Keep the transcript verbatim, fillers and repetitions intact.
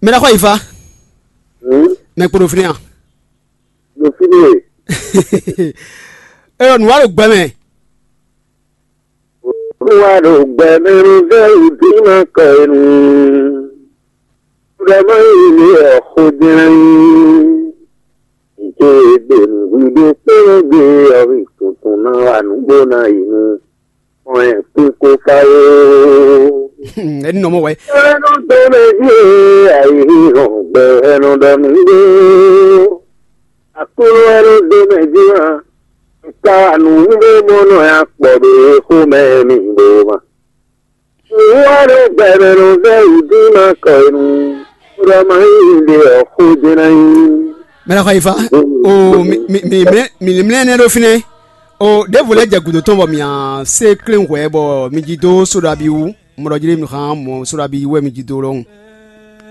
Mɛ ɖaxó ayifa. Mɛ kpo ɖo fínɛ́ a? Ɖo fínɛ́. Eyɔ nǔ wa ɖo gbɛ mɛ. Nǔ wa ɖo gbɛ mɛ nú vɛ́ wǔ dín ma kɔ e nu. Ɖɔ má yi lě ɔ́ xó jlɛ́n. Nǔ ce e gbe nǔɖuɖu kplɔ́n gbe ɔ́, tuntun ná wa nǔ bó ná yi nú kpɔ́n ɛ kpín kó fá ó. Ɛni nɔ mɔ wɛ. Ɛnu dó mɛ jí e ayǐhínhɔn gbɛ ɛnu ɖɔ nǔ ɖó. Aklúnɔ ɛnu dó mɛ jí wá. Ka nǔ ɖé mɔ nɔ ya kpɔ ɖo e xó mɛ mi ɖó ma. Wá ɖo gbɛmɛ nɔ vɛ́ wǔ dín ma kɔ e nu, ɖɔ ma nyí ɖe ɔ́ xó jɛ́n ná nyí. Mɛ ná xɔ yi fa. O mi mi mi mlɛ mi mlɛ nɛ ɖo fínɛ́. O ɖěvo lɛ́ jɛ gǔdo tɔn bɔ mǐ á se klɛ́n hwɛ bɔ mi jí dó sóɖabi wú. Mɔ ɖɔ jí ɖé mi xán mɔ sóɖabi wú wɛ mi jí dó lɔhùn.